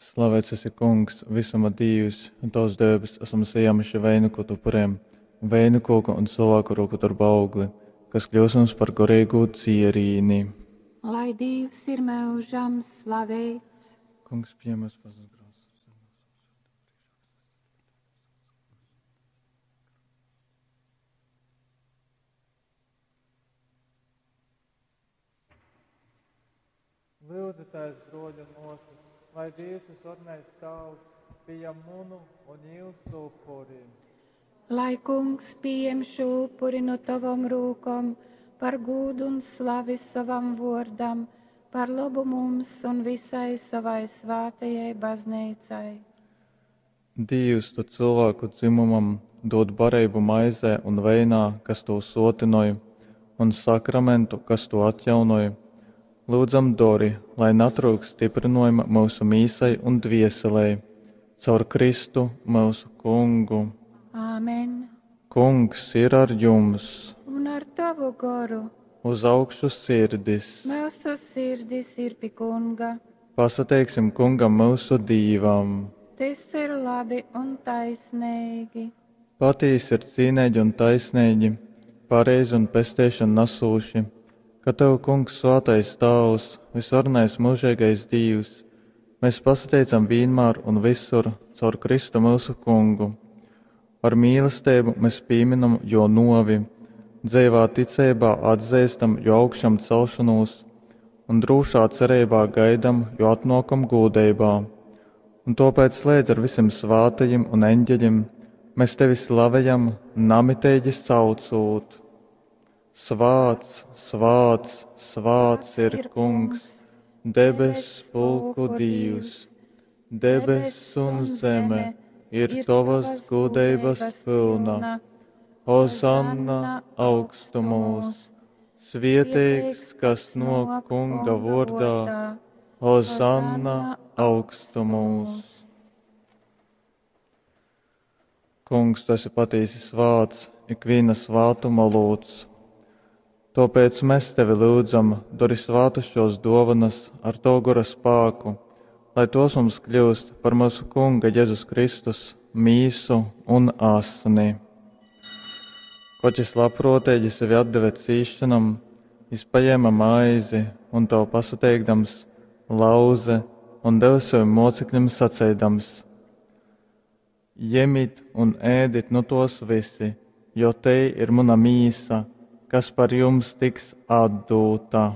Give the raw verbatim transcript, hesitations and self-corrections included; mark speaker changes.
Speaker 1: Slavēts esi, Kungs, visuma Dīvs, un Tavs dēbes esam sajēmuši vainagot upuriem, vainagoku un cilvēku roku darba augli, kas kļūs mums par garīgu dzierīni.
Speaker 2: Lai Dievs ir mūžam slavēts.
Speaker 1: Kungs, piemes pazudušos. Lūdzieties, broļi un māsas, lai Dievs visvarenais Tēvs pieņem munu un jūsu upuri.
Speaker 2: Lai Kungs pieņem šo upuri no tavam rūkom par gūdu un slavi savam vārdam, par labu mums un visai savai svētajai baznīcai.
Speaker 1: Dievs, tu cilvēku dzimumam dod barību maizē un veinā, kas to sotinoj, un sakramentu, kas to atjaunoj. Lūdzam, dori, lai natrūkst stiprinojuma mūsu mīsai un dvieselei, caur Kristu mūsu Kungu.
Speaker 2: Āmen.
Speaker 1: Kungs ir ar jums,
Speaker 2: Un ar tavu goru
Speaker 1: uz augšu sirdis.
Speaker 2: mūsu sirdis ir pie Kunga.
Speaker 1: Pasateiksim Kungam mūsu Dīvam.
Speaker 2: Tas ir labi un taisnīgi.
Speaker 1: Patīsi ir cīnīgi un taisnīgi, pareizi un pesteišanu nesūši, ka Tev, Kungs, svētais Tēvs, visvarenais mūžīgais Dievs, mēs pasateicam vienmēr un visur caur Kristu mūsu Kungu. Ar mīlestību mēs pieminam jo novi, dzīvā ticībā atzīstam jo augšām celšanos un drūšā cerībā gaidam jo atnākam gūdeibā. Un tāpēc slēdz ar visiem svātajiem un eņģeļiem mēs tevi slavējam, namitīgi saucot. Svāts, svāts, svāts ir Kungs, debes pulku Dievs, debes un zeme ir tavas gudrības pilna. Hozanna augstumos, svietīgs, kas no Kunga vārdā, Hozanna augstumos. Kungs, tu esi patiesi svāts, ikviena svātuma lūdz. Tāpēc mēs tevi lūdzam, dari svātus šos dāvanas ar to gora spēku, lai tos mums kļūst par mūsu Kunga Jēzus Kristus mīsu un asni. Koč es labprātīgi sevi atdeve cīšanam, jis paņēma maizi un tev pasateikdams, lauze un deva saviem mocekļiem sacēdams: Ņemiet un ēdit no tos visi, jo te ir mana mīsa, kas par jums tiks atdūta.